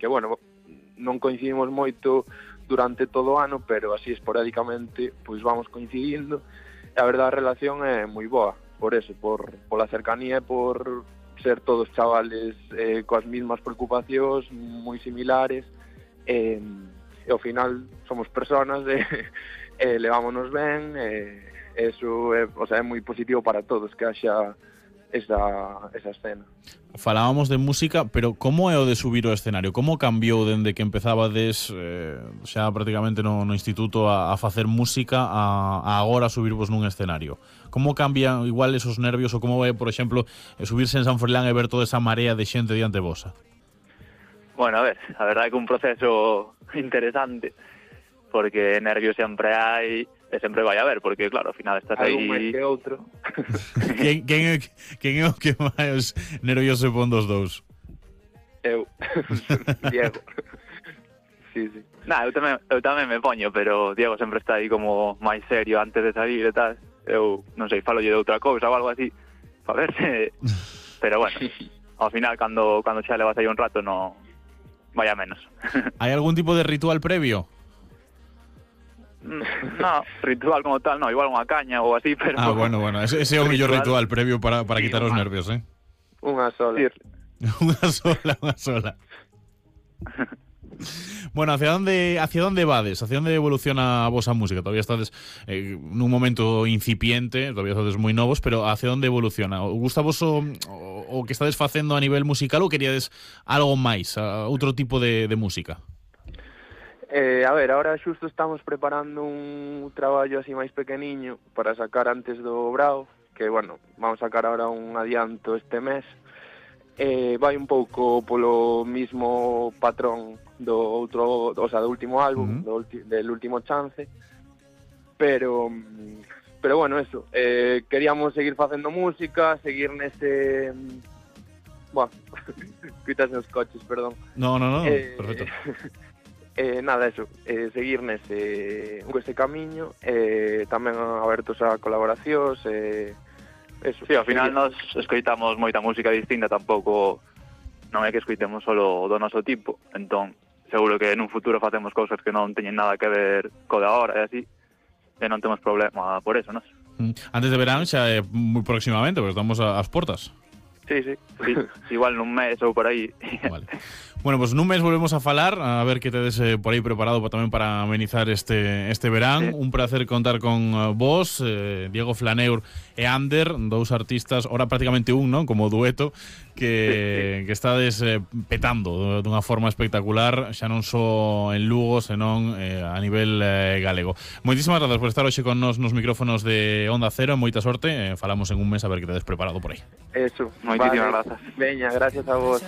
bueno, non coincidimos moito durante todo o ano, pero así esporádicamente pois vamos coincidindo, e a verdade a relación é moi boa, por eso, pola cercanía e por ser todos chavales coas mesmas preocupacións moi similares, e ao final somos personas e levámonos ben, eso é moi positivo para todos que haxa esa escena. Falábamos de música, pero como é o de subir o escenario? Como cambiou dende que empezabades xa prácticamente no instituto a facer música a agora subirvos nun escenario? Como cambian igual esos nervios ou como é, por exemplo, subirse en San Froilán e ver toda esa marea de xente diante vosa? Bueno, a ver, a verdade é que un proceso interesante, porque nervios sempre hai e sempre vai haber, porque claro, ao final estás aí... Hai un máis que outro. Quen é o que máis nervioso pon dos dous? Eu, Diego. Sí. Eu tamén me poño, pero Diego sempre está aí como máis serio antes de salir e tal. Eu, non sei, falolle de outra cousa ou algo así, para verse... Pero bueno, ao final, cando xa levas aí un rato, no vaya menos. Hai algún tipo de ritual previo? No, ritual como tal, no, igual unha caña ou así, pero... Bueno, ese é o mellor ritual previo para quitar os nervios, Unha sola. Unha sola. Bueno, hacia onde vades? Hacia onde evoluciona a vosa música? Todavía estades nun momento incipiente, todavía estades moi novos, pero hacia onde evoluciona? Gusta vos o que estades facendo a nivel musical ou queríades algo máis, outro tipo de música? A ver, ahora xusto estamos preparando un traballo así máis pequeniño para sacar antes do Brao, que, bueno, vamos a sacar ahora un adianto este mes. Vai un pouco polo mismo patrón do último álbum, del último chance, pero bueno, eso, queríamos seguir facendo música, seguir nese... Buah, cuitas os coches, perdón. No, perfecto. Nada, eso, seguir nese camiño, tamén abertos a colaboracións, eso. Sí, ao final nos escoitamos moita música distinta, tampouco non é que escoitemos solo do noso tipo, entón seguro que nun futuro facemos cousas que non teñen nada que ver co de agora e así, e non temos problema por eso, non? Antes de verán xa é moi próximamente, porque estamos ás portas. Sí, igual nun mes ou por aí. Vale. Bueno, pues nun mes volvemos a falar, a ver que tedes por aí preparado tamén para amenizar este verán. Un placer contar con vos, Diego Flaneur e Ander, dous artistas, ora prácticamente un, non? Como dueto, que estades petando dunha forma espectacular, xa non só en Lugo, senón a nivel galego. Moitísimas grazas por estar hoxe con nos micrófonos de Onda Cero, moita sorte, falamos en un mes a ver que tedes preparado por aí. Eso, moitísimas grazas. Veña, gracias a vos.